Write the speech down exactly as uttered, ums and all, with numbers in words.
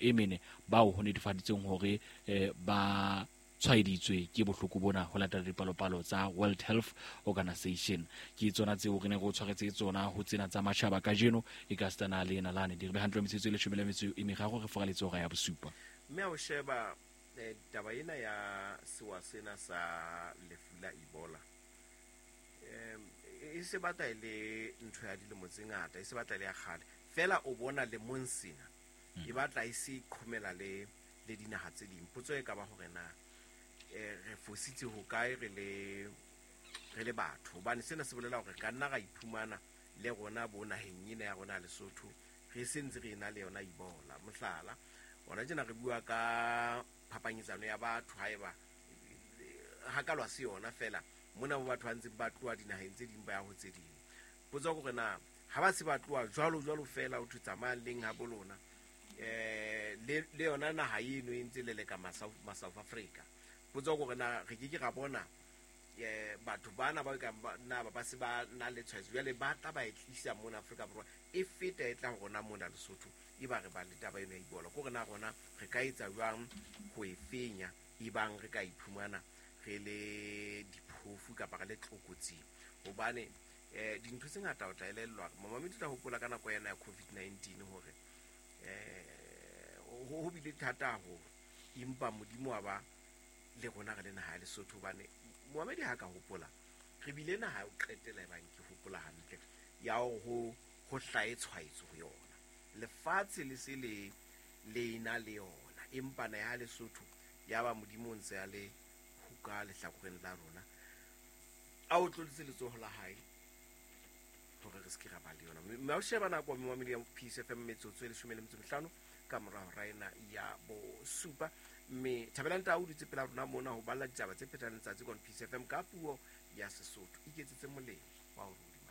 e mene bao ho netefaditsweng hore eh, ba tshwaeditswe ke bohloko bona ho latela dipalopalo tsa World Health Organization. Ke tsona tseo re ne re o tshwaretse tsona ho tsena tsa matjhaba kajeno e ka sitana le nalane di re be hantle metsotso e leshome le metso e meraro re foraletse hora ya bosupa. Mme ha o sheba eh, taba ena ya sewa sena sa lefu la Ebola, em, e se batla e le ntho ya dilemo tse ngata, e se batla e le ya kgale fela. O bona lemong sena e batla e se qhomela le le dinaha tse ding. Potso e ka ba hore na eh, re fositse hokae re le re le batho, hobane sena se bolela hore ka nna ra iphumana le rona bo naheng ena ya rona ya Lesotho re sentse re ena le yona Ebola. Mohlala, hona tjena re bua ka phapanyetsano ya batho, haeba hakalwa se yona fela mona bo batho ba ntseng ba tloha dinaheng tse ding ba ya ho tse ding. Potso ke hore na ha ba se ba tloha jwalo jwalo fela, ho thwe tsamayang leng ha bo lona, eh le le yona naha eno e ntse leleka ma South ma South Africa. Potso ke hore na re ke ke ra bona eh batho bana ba ka na ba ba se ba na le tshwaetso jwale ba tla ba e tlisa mona Afrika Borwa, e feta e tla ho rona mona Lesotho, e ba re ba le taba eno ya Ebola. Ke hore na rona re ka etsa jwang ho e fenya ebang re ka iphumana re le diphofu kapa re le tlokotsing, hobane eh dintho tse ngata o tla elellwa. Momamedi o tla hopola ka nako ena ya COVID nineteen hore eh ho ho bile thata haholo, empa Modimo wa ba le rona re le naha ya Lesotho. Hobane momamedi ha ka hopola re bile naha ya ho qetela e bang ke hopola hantle ya hore ho ho hlahe tshwaetso ho yona, lefatshe le se le le ena le yona, empa naha ya Lesotho ya ba Modimo o ntse a le ka lehlakoreng la rona, a o tloditse letsoho la hae hore re se ke ra ba le yona. Mme ha o sheba nako momamedi ya Peace F M, metsotso e leshome le metso e mehlano ka mora hora ena ya bosupa. Mme Thabelang Tau o dutse pela rona mona ho balla ditaba tse phethang letsatsi kwana Peace F M ka puo ya Sesotho. Iketsetse molemo wa ho rua.